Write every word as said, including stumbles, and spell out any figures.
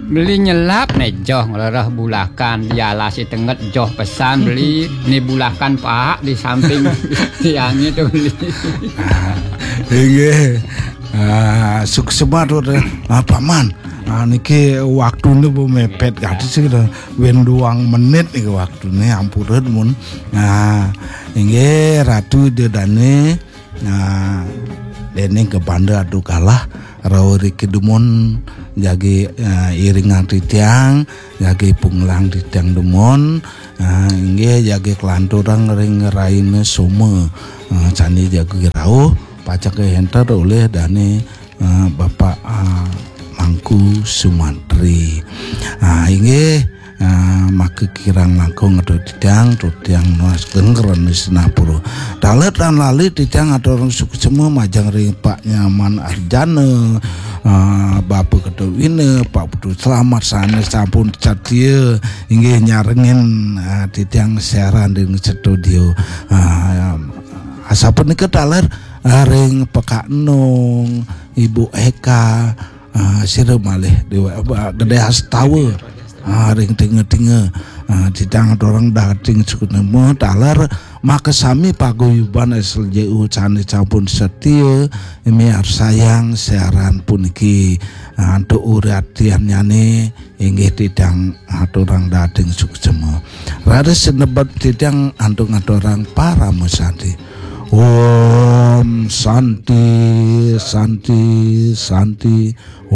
Beli nyelap né joh ngelereh bulakan, di alas si tenget joh pesan beli, ni bulakan paak di samping tiangnya tuh beli. Inggih. Ah, suksma tuh, ah, Paman. Ah, niki waktune bu mepet gadis sih, wénten duang menit niki waktune, ampura dumun. Nah, inggih Ratu Ida Dané. Nah, déning kebanda adu kalah, rauh riki dumun jagi, ah, iringang titiang, jagi punglang titiang dumun. Ah, inggih jagi kelanturang ring raina Soma. Ah, sane jagi rauh, pacang kahénter olih dané, ah, Bapak, ah, Mangku Sumantri. Ah, inggih, ah, maka kirang langkung atur titiang, tur titiang nunas geng rena sinapura. Taler tan lali titiang atur suksma majeng ring Pak Nyaman Arjana, ah, Bapak Ketut Wina, Pak Putu Selamat sane sampun satia inggih nyarengin, ah, titiang siaran ring studio. Ah, asapunika taler, ah, ring Pekak Enung, Ibu Eka, ah, sira malih Dewa, ah, Gedé Astawa. Ah, ring tinga-tinga. Ah, titiang aturang dahating suksma taler makasami paguyuban S L J U sane sampun setia miarsayang siaran puniki. Ah, antuk uratiannyane inggih titiang aturang dahating suksma. Raris sinebut titiang antuk ngaturang parama santi. Om Santi, Santi, Santi.